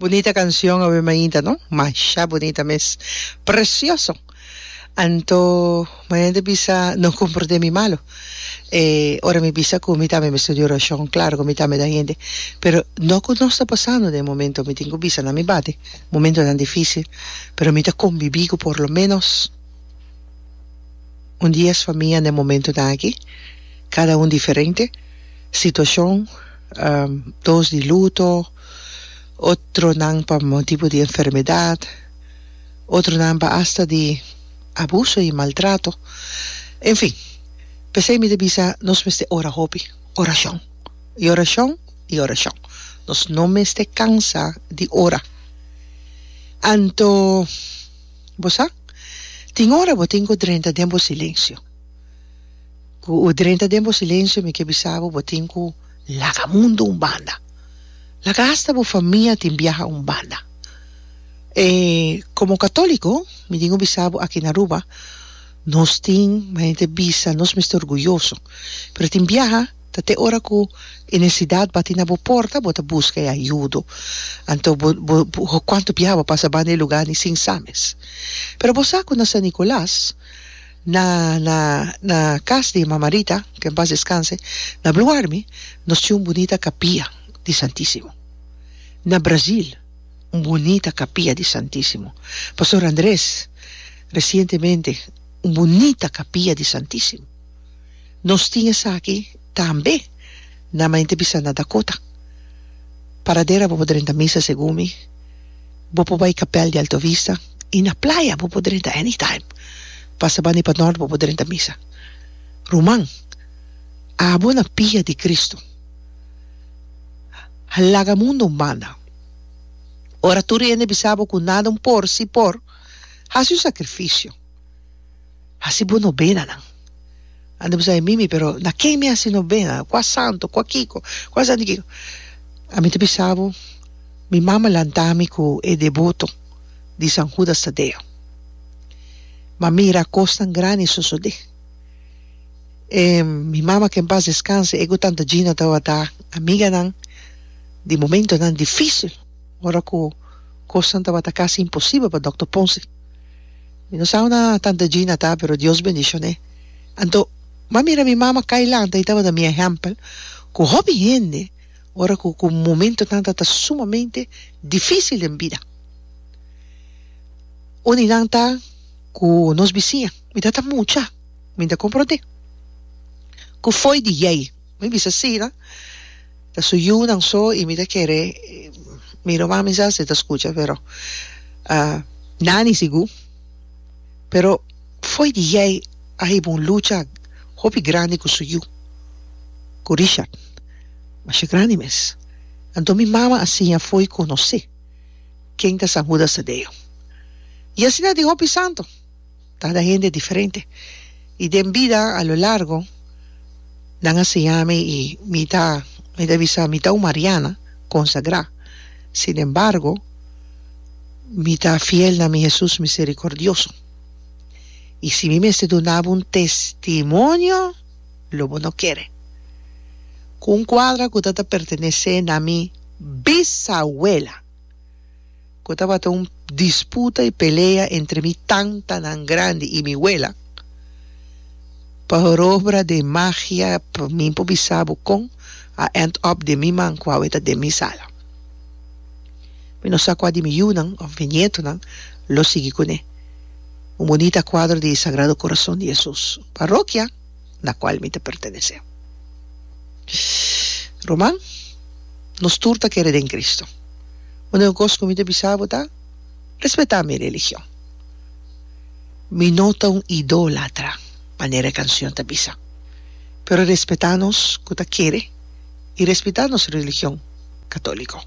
Bunita cancion awe mainta no? Masha bunita mes. Precioso. Anto mañana ta bisa no comprende mi malo. E ora mi bisa cu mi tambe mester di oracion, claro cu mi tambe ta hende, pero no cu nos ta pasando den e momento, mi tin cu bisa na mi bate momentonan dificil, pero mi ta convivi cu por lo menos un dies famia den e momentonan aki, cada un diferente situacion, dos di luto, otronan pa motibo di enfermedad, otronan pa asta di abuso y maltrato, en fin, p'esey mi ta bisa nos mester ora hopi, oracion, y oracion, y oracion, nos no mester cansa di ora. Anto, bo sa, tin ora bo tin cu drenta den bo silencio, cu drenta den bo silencio mi ke bisa bo, bo tin cu laga mundo un banda, laga asta bo famia tin biaha un banda. E komo katoliko mi tin ku bisa bo aki na Aruba nos tin manera ta bisa nos mester orguyoso pero tin biaha ta te ora ku e nesidat bati na bo porta bo ta buska e ayudo anto bo bo kuantu biaha bo pasa banda e luga ni sin sa mes pero bo sa ku na San Nicolas na na na kas di mama Rita ke en pas deskanse na Blue Army nos tin un bunita kapia di Santisimo na Brazil. Un bunita capilla di Santisimo. Pastor Andres, recientemente un bunita capilla di Santisimo. Nos tin esaki tambe na Mainte bisa na Dakota. Paradera bo por drenta misa segun mi. Bo por bay capel di Alto Vista y na playa bo por drenta anytime. Pasa banda y pa nort bo por drenta misa. Ruman, abo na pia di Cristo. Laga mundo un banda. Ora tur hende bisa bo ku nada un por si por, hasi un sakrifisio. Hasi bo nobenanan. Anda bisa e mimi, pero na ken mi hasi nobena? Kua santo? Kua kiko? Kua santo kiko? Ami ta bisa bo, mi mama lanta mi ku e deboto di San Judas Tadeo. M'a mira kosnan grandi sosodé. E mi mama ke en pas deskanse, e ku tanta Gina tabata amiganan. Di momentonan difícil, ora cu cosnan tabata casi imposibel pa Dòkter Ponce. Mi no sa unda Tanta Gina ta, pero Dios bendicion'é. Anto, m'a mira mi mama cay lanta y tabata mi ehempel cu hopi hende ora cu cu momentonan ta ta sumamente difícil den bida. Un di nan ta cu nos bisiña. Mi ta ta mucha, mi ta comprende cu fo'i di yey. Mi bisa asina. Ta su yunan so y mi ta kere mi ruman mi sa si ta scucha pero Nani sigur pero fo'i di yey a hiba un lucha hopi grandi cu su yu cu Richard masha grandi mes anto mi mama a siña fo'i conoce ken ta San Judas Tadeo y asina tin hopi santo. Cada hende diferente y den bida a lo largo nan a siña mi y mi ta mi ta bisa mi ta un mariana consagra sin embargo mi ta fiel na mi Jesus misericordioso y si mi mester duna bo un testimonio lo bo no kere cu un cuadra cu ta ta pertenece na mi bisawela. Ku tabata un disputa i pelea entre mi tantanan grandi i mi wela, pa hor obra de magia pa mi por bisa bo kon a end up den mi man ku awe ta den mi sala. Mi no sa kua di mi yunan òf mi nietonan lo sigui kuné. Un bunita kuadro di Sagrado Corazon di Hesus, parokia na kual mi ta pertenesé. Ruman, nos tur ta kere den Cristo. Úniko kos ku mi ta bisa bo ta, respetá mi religion. Mi no ta un idólatra, manera e kanshon ta bisa. Pero respetá nos ku ta kere i respetá nos religion katóliko.